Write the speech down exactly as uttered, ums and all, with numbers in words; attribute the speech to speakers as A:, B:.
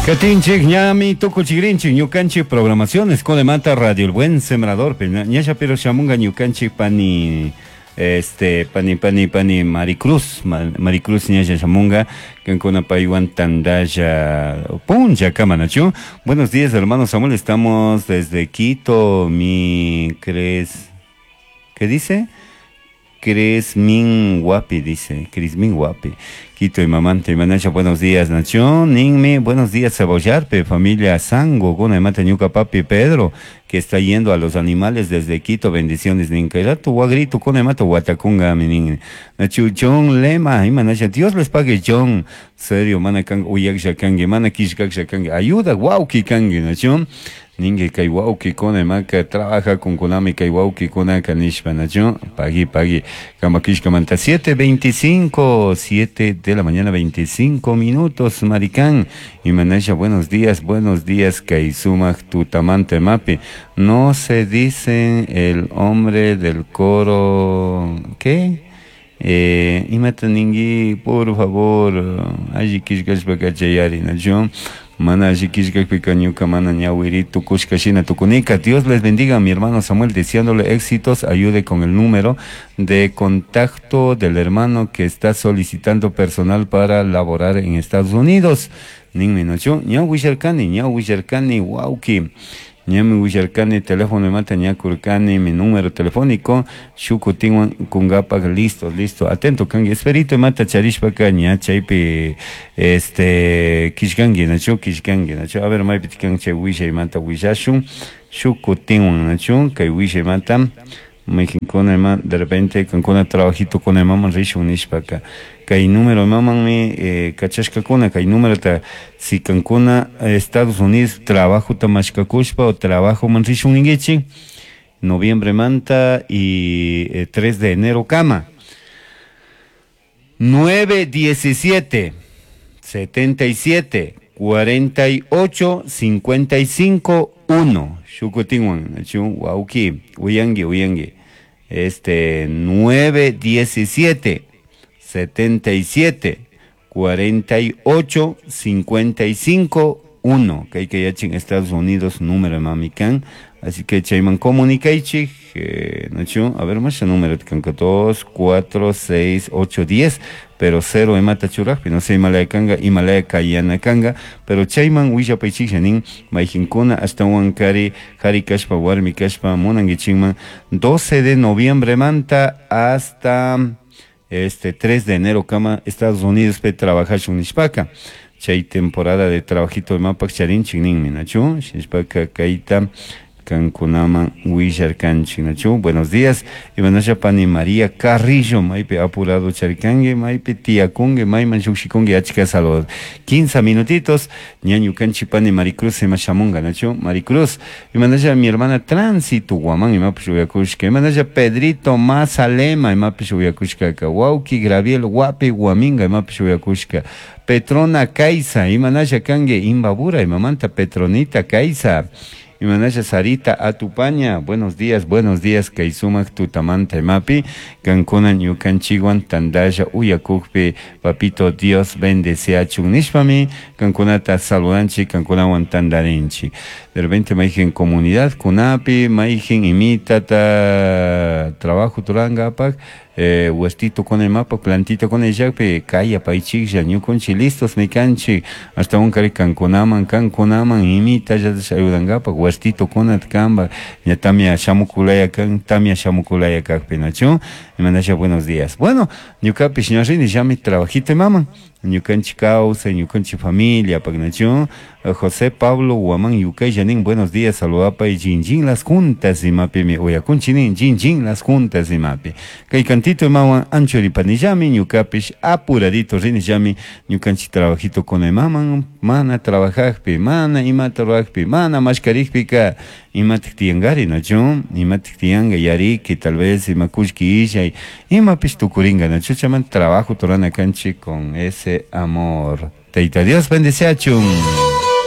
A: Katinchik ñami tukuchigrinchik ñukanchik programaciones Conemanta Radio El Buen Sembrador ñasha pero shamunga ñukanchik pani este pani pani pani Maricruz Maricruz ñasha shamunga kankuna paywan tandalla puncha kamanachu. Buenos días, hermano Samuel, estamos desde Quito. Mi crees, ¿qué dice? Cresmin Guapi, dice, Crismin Guapi. Quito y mamante y manacha, buenos días, Nación, Ninmi, buenos días, Cebollarpe, familia Sango, Guna y Mata Ñuca, papi Pedro, que está yendo a los animales desde Quito, bendiciones, Ninka, tu guagrito, Cuna y Mata, Guatacunga, mi nin, Nachu, John Lema, y manacha, Dios les pague, John, serio, mana kang, uyak shakangi, mana kishkak shakangi, ayuda, wauki kangi, Nación, ningue kay wauki kona maka trabaja con kunami kay wauki kona kanishpa nacho pagui pagui kamakishka manta. Siete veinticinco, siete de la mañana veinticinco minutos, maricán y manasha, buenos días, buenos días, kay sumak tutamante mapi. No se dicen el hombre del coro, ¿qué? Eh, imata ningui, por favor, alli kishkashpa kachayari nacho. Mana ñuka mana ñawirito kushkashina tukunika. Dios les bendiga, mi hermano Samuel, deseándole éxitos. Ayude con el número de contacto del hermano que está solicitando personal para laborar en Estados Unidos. Ninmi nochu, ña wisharkani, ña wisharkani, wauki. Ñami wisharkani, teléfono mata ñakurkani, mi número telefónico, shukutinwan kungapak, listo, listo, atento kangi, esperito mata charishpaka ña chaypi, este, kishkangi, nachu, kishkangi, nachu, a ver, maypi tikan chay wishay mata wishashun, shukutinwan, nachu, kay wishay mata, maykinkuna ima, de repente, kankuna trabajito kuna imaman rishun nishpaka, kay número imamanmi eh, kachashkakuna, kay número ta si kankuna Estados Unidos trabajo tamashkakushpa o trabajo man rishun ninguichi, noviembre manta y eh, tres de enero kama, nueve diecisiete setenta y siete cuarenta y ocho cincuenta y cinco uno, shukutinwan, wauki, uyangi, uyangi, este, nueve diecisiete setenta y siete cuarenta y ocho cincuenta y cinco uno, que hay que yachin Estados Unidos número mamican, así que chayman comunicaichi, eh, nachu, a ver más el número dos, cuatro, seis, ocho, diez, pero cero emata churajpi, no sé, Himalaya kanga, Himalaya kayana kanga, pero chayman willapaychik shanin, mayjinkuna hasta huancari, jari kashpa, warmi kashpa, munanguichikman, doce de noviembre manta hasta este tres de enero kama Estados Unidos pe trabajashun nishpaka, chay temporada de trabajito de mapak charinchik ninmi nachu, nishpaka kaita kankunaman willarkanchik nachu. Buenos días, imanasha pani María Carrillo, maypi apurado charikangue, maypi tiakungue, mayman shukshikungue, achka saludos. quince minutitos, ñañu kanchi pani Maricruz ima shamunga nachu, Maricruz, imanasha mi hermana Tránsito Guamán, imapish uyakushka, imanasha Pedrito Mazalema, imapish uyakushka, wauki Graviel Guapi Guaminga, imapish uyakushka, Petrona Kaisa, imanasha kangue, Imbabura, imamanta Petronita Kaisa, imanasha Sarita Atupaña, buenos días, buenos días, kaysumak tutamanta imapi, kankuna ñukanchikwan tandalla uyakukpi, papito Dios bendeciachun nishpami, kankunata saludanchik, kankunawan tandarinchik. De repente mayjen comunidad kunapi, mayjen imitata trabajo turangapak, eh, huertito con el mapa, plantito con el yape, calla paichik, ñukunchi listos mikanchi, hasta un cari kankunaman, kankunaman, imita ya ayudangapa, huertito con el kamba, ya tamia shamukulaya kan, tamia shamukulaya kakpenacho, y mandasha buenos días. Bueno, ñukapish ñarrini ya mi trabajito mama, ñukanchi causa, ñukanchi familia, pagnacho, José Pablo Guamán Yucay Yanin, buenos días, saludapa y jinjin las juntas y mapi mi oyakunchinin, jinjin las juntas y mapi. Kay cantito mawan ancho ripanillami, ñukapish apuradito rinillami, ñukanchi trabajito con el maman, mana trabajajpi, mana ima trabajpi, mana mashkarijpika, imatik tiangari nacho, imatik tianga yari, que tal vez imakushki ishay, imapish tukuringa nacho, chaman trabajo torana kanchi con ese amor. Teita Dios bendice achun.